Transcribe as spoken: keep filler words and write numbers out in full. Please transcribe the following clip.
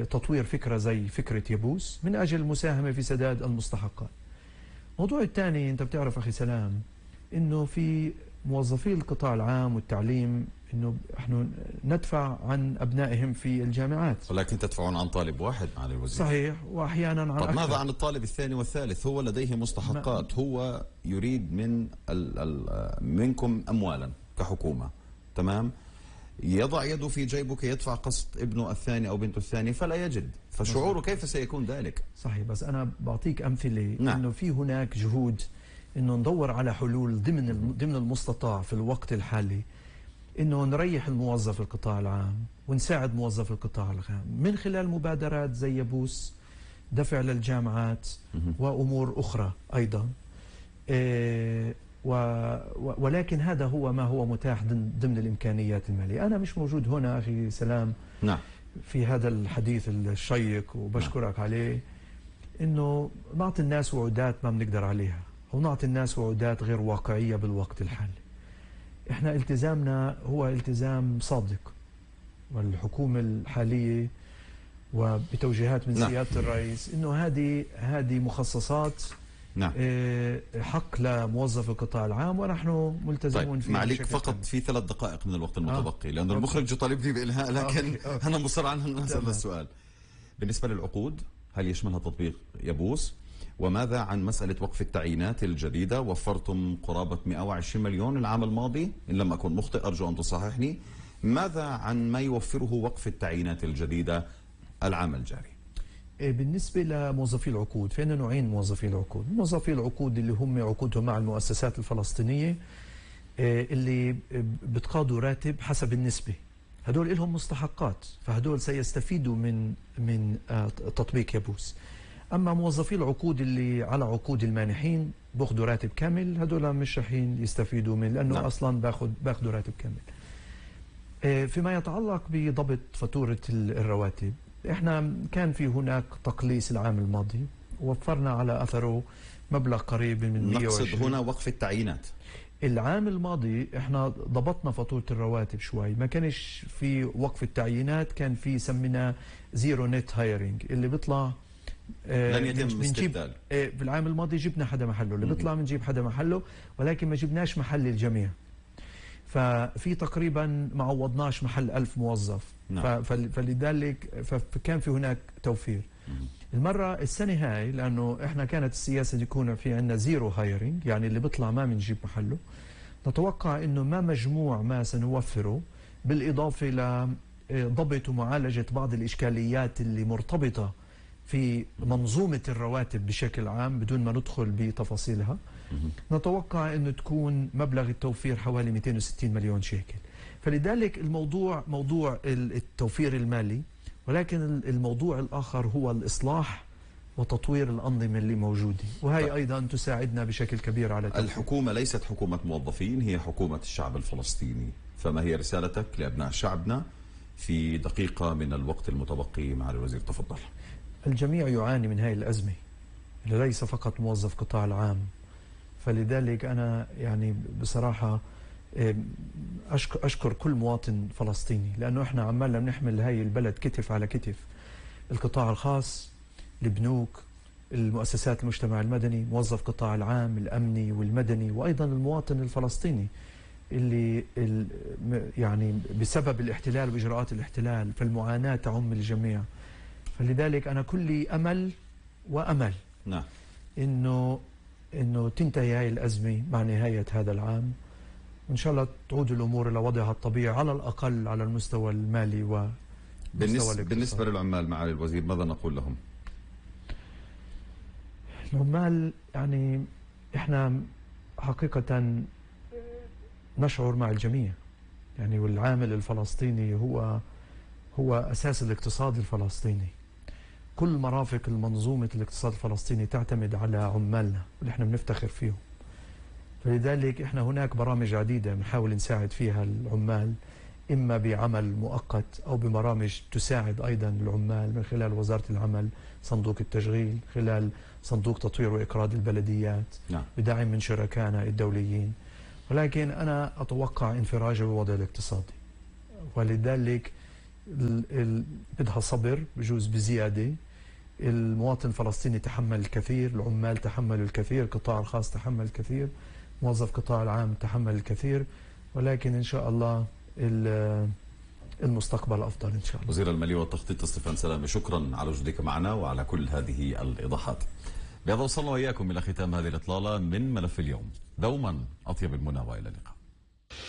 تطوير فكرة زي فكرة يبوس من أجل المساهمة في سداد المستحقات. الموضوع الثاني، أنت بتعرف أخي سلام إنه في موظفي القطاع العام والتعليم إنه نحن ندفع عن أبنائهم في الجامعات، ولكن تدفعون عن طالب واحد معالي الوزير. صحيح، وأحيانا عن طب أكثر. ماذا عن الطالب الثاني والثالث؟ هو لديه مستحقات، هو يريد من ال ال منكم أموالا كحكومة، تمام؟ يضع يده في جيبه كي يدفع قسط ابنه الثاني أو بنته الثاني فلا يجد، فشعوره كيف سيكون ذلك؟ صحيح، بس أنا بعطيك أمثلة. نعم. إنه في هناك جهود إنه ندور على حلول ضمن ضمن المستطاع في الوقت الحالي، إنه نريح الموظف القطاع العام ونساعد موظف القطاع العام من خلال مبادرات زي يبوس، دفع للجامعات وأمور أخرى أيضا. إيه و ولكن هذا هو ما هو متاح ضمن الإمكانيات المالية. أنا مش موجود هنا أخي سلام نعم في هذا الحديث الشيق وبشكرك نعم. عليه، إنه نعطي الناس وعودات ما بنقدر عليها، أو نعطي الناس وعودات غير واقعية بالوقت الحالي. إحنا التزامنا هو التزام صادق، والحكومة الحالية وبتوجيهات من نعم. سيادة الرئيس إنه هذه هذه مخصصات نعم. حق لموظف القطاع العام ونحن ملتزمون طيب فيه. معليك فقط في ثلاث دقائق من الوقت المتبقي، آه. لأن المخرج يطالبني بإلهاء، لكن أوكي. أوكي. أنا مصر على أن أسأل السؤال. بالنسبة للعقود، هل يشملها تطبيق يبوس؟ وماذا عن مسألة وقف التعيينات الجديدة؟ وفرتم قرابة مئة وعشرين مليون العام الماضي إن لم أكن مخطئ، أرجو أن تصححني. ماذا عن ما يوفره وقف التعيينات الجديدة العام الجاري؟ بالنسبة لموظفي العقود، فإن نوعين موظفي العقود. موظفي العقود اللي هم عقودهم مع المؤسسات الفلسطينية اللي بتقاضوا راتب حسب النسبة، هدول لهم مستحقات، فهدول سيستفيدوا من من تطبيق يبوس. أما موظفي العقود اللي على عقود المانحين بأخذوا راتب كامل، هدول مش رح يستفيدوا من، لأنه نعم. أصلا باخذ باخذوا راتب كامل. فيما يتعلق بضبط فاتورة الرواتب، احنا كان في هناك تقليص العام الماضي ووفرنا على اثره مبلغ قريب من مئة وعشرين. نقصد هنا وقف التعيينات. العام الماضي احنا ضبطنا فاتورة الرواتب شوي، ما كانش في وقف التعيينات، كان في سمينا زيرو نت هايرنج اللي بيطلع آه لن يتم استبدال. آه في العام الماضي جبنا حدا محله، اللي بيطلع بنجيب حدا محله، ولكن ما جبناش محل الجميع. ففي تقريبا ما عوضناش محل ألف موظف. نعم. فلذلك فكان في هناك توفير. مم. المرة السنة هاي لأنه إحنا كانت السياسة يكون في عندنا زيرو هايرنج، يعني اللي بيطلع ما بنجيب محله، نتوقع إنه ما مجموع ما سنوفره بالإضافة لضبط ومعالجة بعض الإشكاليات اللي مرتبطة في منظومة الرواتب بشكل عام بدون ما ندخل بتفاصيلها. نتوقع أنه تكون مبلغ التوفير حوالي مئتين وستين مليون شيكل. فلذلك الموضوع موضوع التوفير المالي، ولكن الموضوع الآخر هو الإصلاح وتطوير الأنظمة اللي موجودة، وهي أيضا تساعدنا بشكل كبير على تطوير. الحكومة ليست حكومة موظفين، هي حكومة الشعب الفلسطيني، فما هي رسالتك لأبناء شعبنا في دقيقة من الوقت المتبقي مع الوزير؟ تفضل. الجميع يعاني من هذه الأزمة، ليس فقط موظف قطاع العام. فلذلك أنا يعني بصراحة أشكر كل مواطن فلسطيني، لأنه إحنا عمالنا بنحمل هاي البلد كتف على كتف. القطاع الخاص، البنوك، المؤسسات المجتمع المدني، موظف قطاع العام الأمني والمدني، وأيضا المواطن الفلسطيني اللي يعني بسبب الاحتلال وإجراءات الاحتلال فالمعاناة تعم الجميع. فلذلك أنا كلي أمل وأمل نعم إنه إنه تنتهي هاي الأزمة مع نهاية هذا العام، وإن شاء الله تعود الأمور إلى وضعها الطبيعي على الأقل على المستوى المالي و بالنسبة, بالنسبة للعمال معالي الوزير ماذا نقول لهم؟ العمال يعني إحنا حقيقة نشعر مع الجميع، يعني والعامل الفلسطيني هو هو أساس الاقتصاد الفلسطيني. كل مرافق المنظومة الاقتصاد الفلسطيني تعتمد على عمالنا واللي احنا بنفتخر فيهم. فلذلك احنا هناك برامج عديدة بنحاول نساعد فيها العمال، إما بعمل مؤقت أو ببرامج تساعد أيضا العمال من خلال وزارة العمل، صندوق التشغيل، خلال صندوق تطوير وإقراض البلديات، نعم. بدعم من شركائنا الدوليين. ولكن أنا أتوقع انفراجة بالوضع الاقتصادي، ولذلك بدها صبر بجوز بزيادة. المواطن الفلسطيني تحمل الكثير، العمال تحملوا الكثير، القطاع الخاص تحمل الكثير، موظف القطاع العام تحمل الكثير، ولكن إن شاء الله المستقبل أفضل إن شاء الله. وزير المالية والتخطيط ستيفان سلامة، شكرا على وجودك معنا وعلى كل هذه الإيضاحات. بهذا وصلنا وإياكم إلى ختام هذه الإطلالة من ملف اليوم. دوما أطيب المنى وإلى اللقاء.